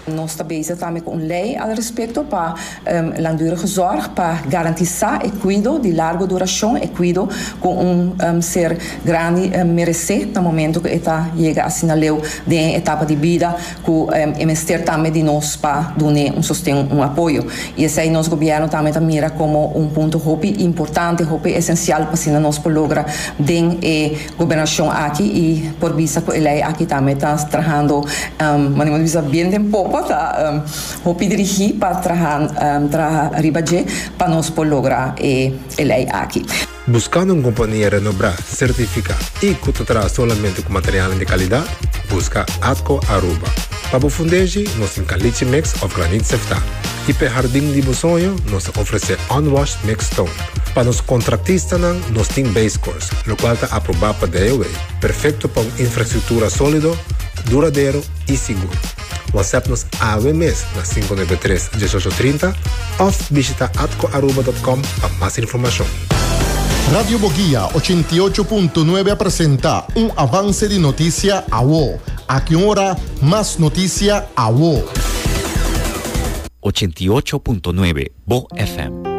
Nos ta bezig tambe ku un lei al respekto pa langdurige zorg pa garantisá e kuido di largo durashon, e kuido ku un ser grandi meresé na momento ku e ta yega asina leu den e etapa di bida ku e mester tambe di nos pa dun'é un sosten, un apoyo. I esei nos gobièrnu tambe ta mira komo un punto hopi importante, hopi esensial pa asina nos por logra den e Gobernashon aki i por bisa ku e lei aki tambe ta trahando manera bo ta bisa bien den popa ta hopi dirigí pa traha traha riba dje pa nos por logra e lei aki. Buskando un kompania renobrá, sertifiká i ku ta traha solamente ku materialnan di kalidat? Buska Atco Aruba. Pa bo fundeshi nos tin caliche mix òf granit seftá. I p'e hardin di bo soño nos ta ofresé unwashed mixed stone. Pa nos kontraktistanan nos tin base course, lokual ta aprobá pa DOW, perfekto pa un infrastruktura sólido, duradero i sigur. WhatsApp nos awe mes na 593 1830 òf bishita atcoaruba.com pa mas informashon. Radio Boguia 88.9 a presenta un avance di noticia awo. Aki un ora, mas noticia awo. 88.9 Bo FM.